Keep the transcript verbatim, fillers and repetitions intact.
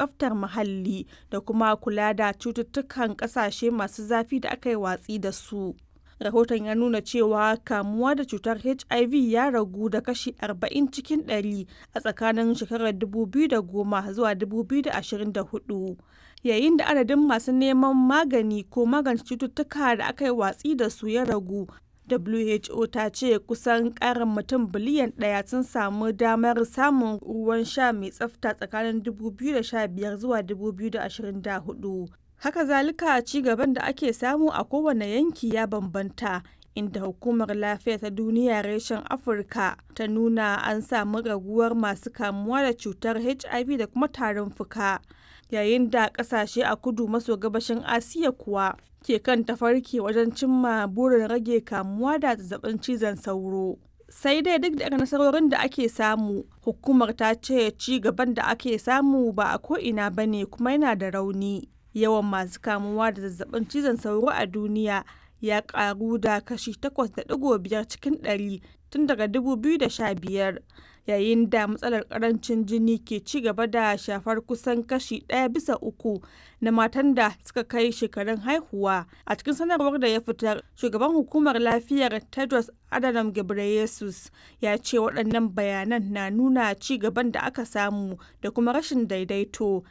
tsaftar muhalli da kuma kula da cututtukan ƙasashe masu zafi da aka yi watsi da su. Rahoton ya nuna cewa kamuwa da cutar H I V ya ragu da kashi arba'in cikin ɗari a tsakanin shekarar dubu biyu da goma zuwa dubu biyu da ashirin da huɗu, yayin da adadin masu neman magani ko magance cututtuka da aka yi watsi da su ya ragu. W H O ta ce kusan ƙarin mutum biliyan ɗaya sun samu damar samun ruwan sha mai tsafta tsakanin dubu biyu da sha biyar zuwa dubu biyu da ashirin da huɗu. Haka zalika, ci gaban da ake samu a kowane yanki ya bambanta, inda Hukumar Lafiya ta Duniya reshen Afirka ta nuna an samu raguwar masu kamuwa da cutar H I V da kuma tarin fuka, yayin da kasashe a kudu maso gabashin Asiya kuwa ke kan tafarki wajen cimma burin rage kamuwa da zazzabin cizon sauro. Sai dai duk da nasarorin da ake samu, hukumar ta ce ci gaban da ake samu ba a ko'ina ba ne kuma yana da rauni. Yawan masu kamuwa da zazzabin cizon sauro a duniya ya karu da kashi takwas da ɗigo biyar cikin ɗari tun daga dubu biyu da sha biyar, yayin da matsalar karancin jini ke ci gaba da shafar kusan kashi ɗaya bisa uku na matan da suka kai shekarun haihuwa. A cikin sanarwar da ya fitar, shugaban hukumar lafiyar Tedros Adhanom Ghebreyesus ya ce waɗannan bayanan na nuna ci gaban da aka samu da kuma rashin daidaito.